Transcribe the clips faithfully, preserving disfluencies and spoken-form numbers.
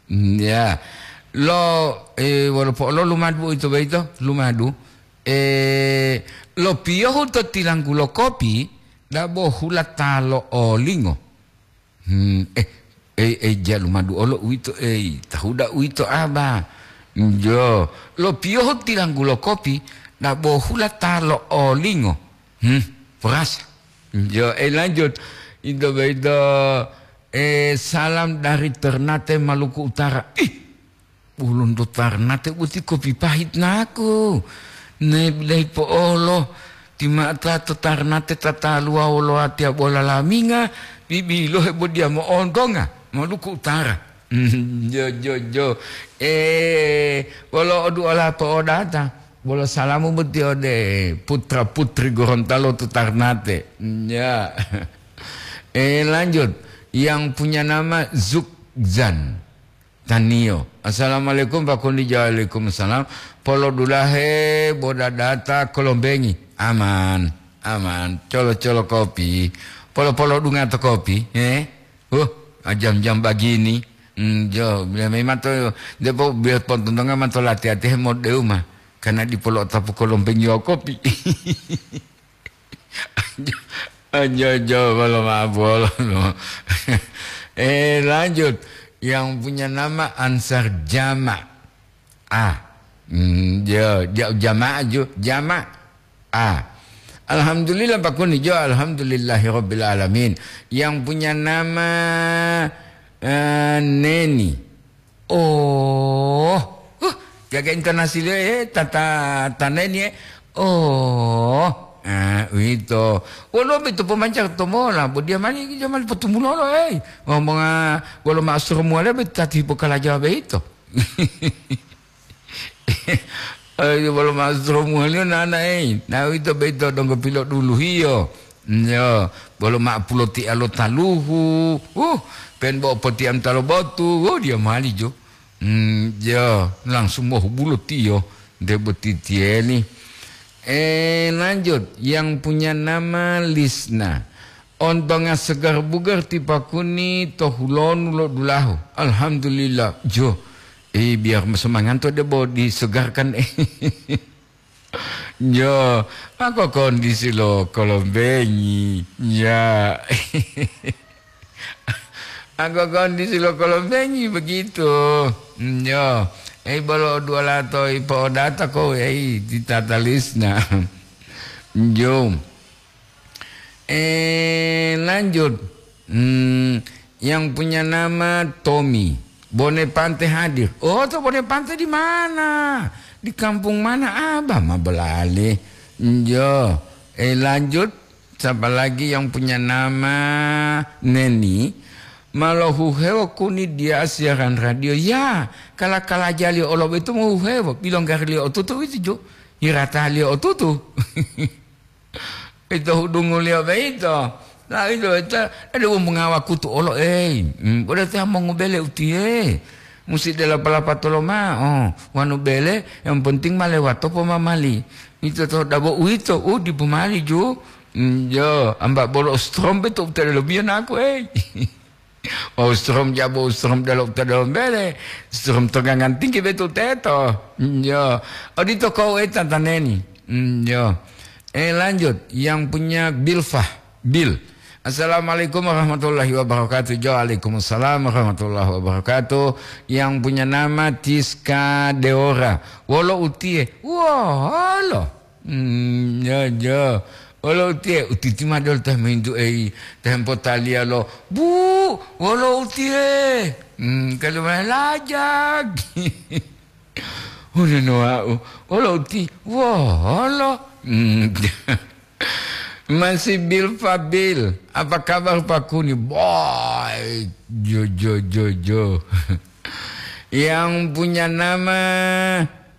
Ya. Lo, eh, wolo po'olo lumadu ito boyito, lumadu. Eh, lo piyohu to tilanggu lo kopi, dabo hula ta lo olingo. Hmm, eh, eh, eh, ja lumadu olo uwito, eh, tahuda uwito aba. Jo, lo piyohu tilanggu lo kopi, dabo hula ta lo olingo. Hmm, perasa. Jo, eh, lanjut. Ito boyito, eh, salam dari Ternate, Maluku Utara. Ih, Ulunto Tarnate boti kopi pahit naku. Ne bilahi po'olo, timata to Tarnate tataluwa wolo watiya bola laminga, bibilohe bodiya mo'ontonga, Maluku Utara. Jo, jo, jo. Eh, wolo oduola po'odata, wolo salamu boti ode putra putri Gorontalo to Tarnate. Ya. Eh, lanjut. Yang punya nama Zukzan. Taniyo. Assalamualaikum, Pak Kundi. Waalaikumsalam. Polodulahe bodadata kolombengi. Aman, aman. Colo-colo kopi. Polo-polo dunga to kopi, eh? Huh, jam-jam bagini. Hmm, jo, biar memang to, depo biar pontontonga man to lati-lati he modeu mah. Karena dipolo tapu kolombengi wa kopi. Ajo, ajo, bolo maaf, bolo. Eh, lanjut. Yang punya nama Ansar Jama. Ah, hmm, jo, ja-, jamaah jo, jamaah. Ah. Alhamdulillah, Pak Kuni jo, alhamdulillahirabbil alamin. Yang punya nama, eh, Neni. Oh, huh, jaga intonasi liyo, eh, tata, taneni, eh. Oh, ah, uwito. Woluwo boyito pomanca to mola, bo diya mani, diya mani potumulolo, eh. Ngomonga wolo ma'asuro muwaliya boyito tati hipokalajawa boyito. Eh, wolo ma'asuro muwaliyo nana, eh. Na uwito boyito donggo piloduluhiyo. Yo, bolo ma'o pulotiya lo taluhu. Uh, pen bo potiya mota lo botu. Oh, diya mali jo. Hmm, yo, langsung mohubulo tiyo. Nte boti tiyeni. Eh, lanjut. Yang punya nama Lisna. Ontonga segar bugar ti Pak Kuni to hulonu lo dulahu. Alhamdulillah. Jo. Eh, biar semangat to debo disegarkan. Jo, ako kondisi lo kolombengi, ya. Ako kondisi lo kolombengi begitu. Jo, eh, bolo dua lato ipo'odata ko, eh, ti tata Lisna. Jo. Eh, lanjut. Hmm, yang punya nama Tommy. Bone Pante hadir. Oh, to Bone Pante di mana? Di kampung mana, Abah? Ma belali. Yo, eh, lanjut. Siapa lagi yang punya nama Neni? Malo huhewo Kuni diya siaran radio. Ya, kala-kalajaliyo olo boyito mohuhewo. Bilonggariliyo otutu uwito jo. Hirataliyo otutu. Ito hudunguliyo boyito. Nah, ito, ito, ado wonu mongawakutu olo, ei. Hmm, bolo ta mongobele utiye. Musi dela palapatolo ma'o. Wonu bele, yang penting ma lewato pomamali. Ito to dabo uwito, u dipo mali ju. Hmm, jo, amba bolo strom beto utadelo biyo naku, ei. Wawu strom jabo, strom delo, to delo bele, strom to gangan tinggi betu teto. Yo, odito kau eta taneni. Mm, yo. Eh, lanjut, yang punya Bilfah, Bil. Assalamualaikum warahmatullahi wabarakatuh. Jo, waalaikumsalam warahmatullahi wabarakatuh. Yang punya nama Tiska Deora. Wolo utie. Wolo. Hmm, ya, ya. Wolo utiye, utiti ma dol teh mintu ei, teh potaliya lo, "Bu, wolo utiye?" Hmm, kalu ma lajag. Unono wau, "Wolo uti?" "Wolo." Hmm. Masih Bil Fabil, apa kabar Pak Kuni? Baik, jo, jo, jo, jo. Yang punya nama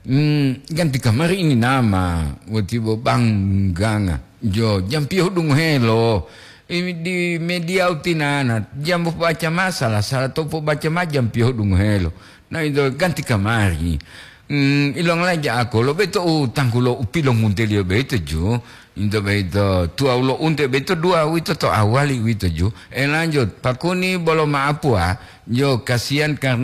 Hmm, ganti kamari ini nama, watibo bangganga. Jo, jampiyo dungohelo. Ini di media utinana, jambo baca masalah, salah to baca ma jampiyo dungohelo. Nah, itu ganti kamari. Hmm, ilong laja ako, lo beto u tanggulo u pilongunteliyo beto ju. Into beto, tuwa ulo unte beto dua wito to awali wito ju. Eh, lanjut, Pak Kuni bolo maapua, jo, kasihan karena